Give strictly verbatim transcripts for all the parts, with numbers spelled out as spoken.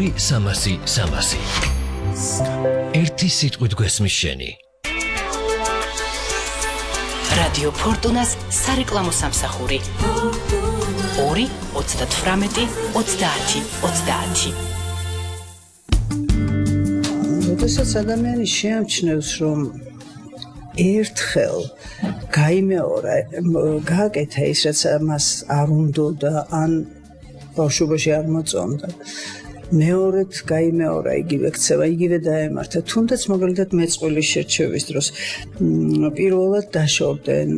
ორი სამასი სამასი. ერთი სიტყვით გვესმის შენი. რადიო ფორტუნას სარეკლამო სამსახური. ორი ოცდათვრამეტი ოცდაათი ოცდაათი. როდესაც ადამიანი შეამჩნევს, რომ ერთხელ გაიმეორა, გააკეთა ის, რაც მას არ უნდოდა, ან ბავშვობაში არ მოწონდა. მეორედ გაიმეორა იგივე ქცევა, იგივე დაემართა. თუნდაც მაგალითად მეწყვილის შერჩევის დროს პირველად დაშორდნენ,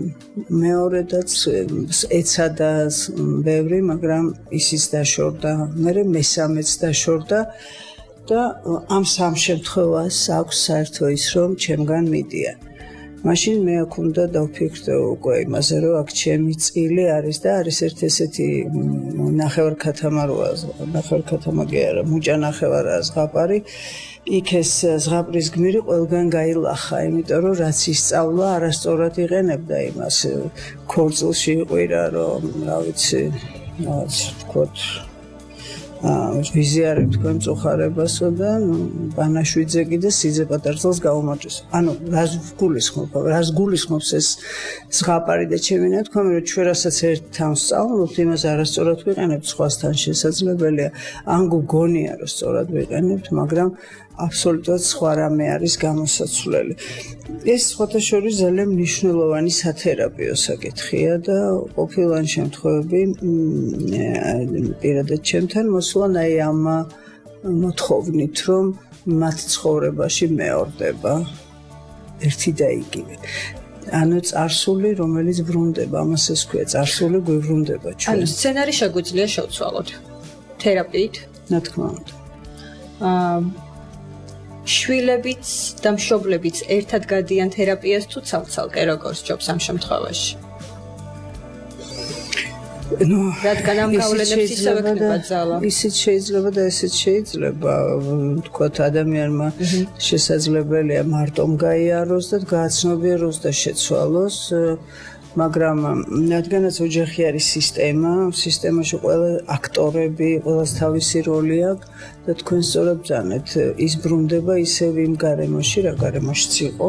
მეორედაც ეცადა ბევრი, მაგრამ ისიც დაშორდა, მერე მესამეც დაშორდა და ამ სამ შემთხვევას აქვს საერთო ის, რომ ჩემგან მიდიან. მაშინ მე აქ უნდა დავფიქრდე უკვე იმაზე, რომ აქ ჩემი წილი არის და არის ერთ ესეთი ნახევარქათამაროა, ნახევარქათამაგე არა, მუჭა ნახევარაა ზღაპარი. იქ ეს ზღაპრის გმირი ყველგან გაილახა, იმიტომ რომ რაც ისწავლა, არასწორად იყენებდა იმას. ქორწილში იყვირა, რომ რა ვიცი, რაღაც ვთქვათ, ვიზიარებ თქვენ მწუხარებასო და ბანაშვიძე კიდე სიძე პატარძალს გაუმარჯოს. ანუ რას გულისხმობ, რას გულისხმობს ეს ზღაპარი და ჩემი ნათქვამი, რომ ჩვენ რასაც ერთ თავს სწავლობთ, იმას არასწორად ვიყენებთ, სხვასთან შესაძლებელია. ან გგონია, რომ სწორად ვიყენებთ, მაგრამ აბსოლუტურად სხვა რამე არის გამოსაცვლელი. ეს სხვათა შორის ძალიან მნიშვნელოვანი სათერაპიო საკითხია და ყოფილან შემთხვევები პირადად ჩემთან მოსულან აი ამ მოთხოვნით, რომ მათ ცხოვრებაში მეორდება ერთი და იგივე. ანუ წარსული, რომელიც ბრუნდება, ამას ეს ქვია, წარსული გვიბრუნდება ჩვენ. ანუ სცენარი შეგვიძლია შევცვალოთ თერაპიით? რა თქმა უნდა. აა შვილებიც და მშობლებიც ერთად გადიან თერაპიას თუ ცალ-ცალკე როგორ სჯობს ამ შემთხვევაში? ნუ რადგან ამ გავლენებს ისევე ხდება ძალა. ისიც შეიძლება და ესეც შეიძლება, თქვათ ადამიანმა შესაძლებელია მარტომ გაიაროს და გააცნობიეროს და შეცვალოს, მაგრამ რადგანაც ოჯახი არის სისტემა, სისტემაში ყველა აქტორები, ყველას თავისი როლი აქვს და თქვენ სწორად ბრძანეთ, ის ბრუნდება ისევ იმ გარემოში, რა გარემოშიც იყო,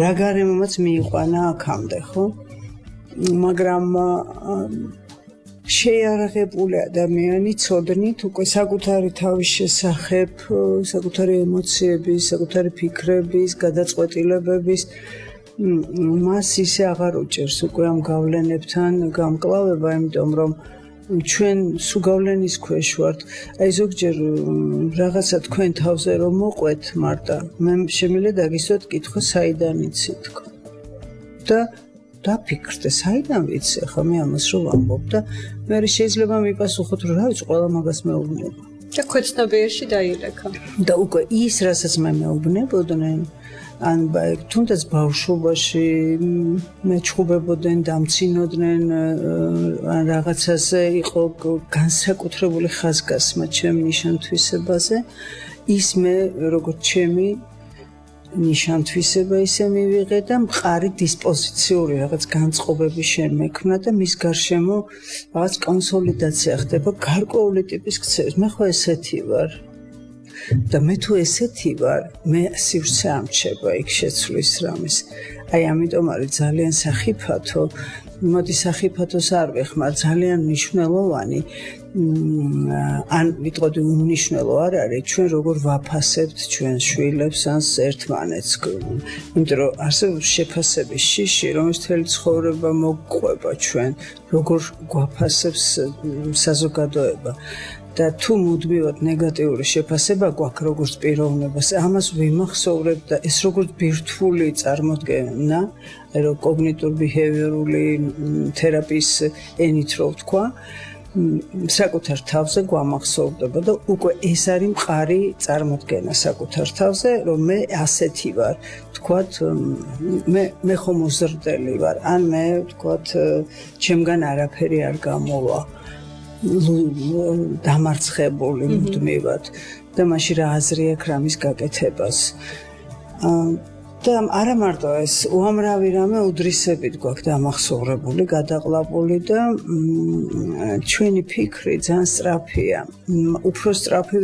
რა გარემომაც მიიყვანა აქამდე, ხო? მაგრამ შეიარაღებული ადამიანი ცოდნით უკვე საკუთარი თავის შესახებ, საკუთარი ემოციების, საკუთარი ფიქრების, გადაწყვეტილებების მას ისე აღარ უჭერს უკვე ამ გავლენებთან გამკლავება, იმიტომ რომ ჩვენ სუგავლენის ქვეშ ვართ. აი ზოგჯერ რაღაცა თქვენ თავზე რომ მოყვეთ მარტა, მე შემიძლია დაგისვათ კითხვა საიდან იცით თქო. და დაფიქრდე, საიდან ვიცი, ახლა მე ამას რომ ვამბობ და მე შეიძლება მიპასუხოთ, რომ რა ვიცი, ყველა მაგას მეუბნება. და ქვეცნობიერში დაილეკა. და უკვე ის, რასაც მე მეუბნებოდნენ, ან თუნდაც ბავშვობაში მეჩხუბებოდნენ, დამცინოდნენ, ან რაღაცაზე იყო განსაკუთრებული ხაზგასმა ჩემ ნიშანთვისებაზე, ის მე როგორც ჩემი ნიშანთვისება ისე მივიღე და მყარი დისპოზიციური რაღაც განწყობები შემექმნა და მის გარშემო რაღაც კონსოლიდაცია ხდება გარკვეული ტიპის ქცევის. მე ხო ესეთი ვარ. და მე თუ ესეთი ვარ, მე სივრცე ამჩება იქ შეცვლის რამის. აი ამიტომ არის ძალიან სახიფათო, მოდი სახიფათოს არ ვეხმარ, ძალიან მნიშვნელოვანი, ან ვიტყოდი უმნიშვნელო არ არის, ჩვენ როგორ ვაფასებთ ჩვენ შვილებს ან ერთმანეთს. იმიტომ რომ არსებობს შეფასების შიში, რომელიც მთელი ცხოვრება მოგყვება ჩვენ, როგორ გვაფასებს საზოგადოება. და თუ მუდმივად ნეგატიური შეფასება გვაქვს როგორც პიროვნებას, ამას ვიმახსოვრებ და ეს როგორც ბირთვული წარმოდგენა, აი რომ კოგნიტურ-ბიჰევიორული თერაპიის ენით რო ვთქვა, საკუთარ თავზე გვამახსოვრდება და უკვე ეს არის მყარი წარმოდგენა საკუთარ თავზე, რომ მე ასეთი ვარ, ვთქვათ, მე მე ხომ მოზრდელი ვარ, ან მე ვთქვათ, ჩემგან არაფერი არ გამოვა. დამარცხებული მუდმივად და მაშინ რა აზრი აქვს რამის გაკეთებას. და არა მარტო ეს, უამრავი რამე უდრისებით გვაქვს დამახსოვრებული, გადაყლაპული და ჩვენი ფიქრი ძალიან სწრაფია. უფრო სწრაფი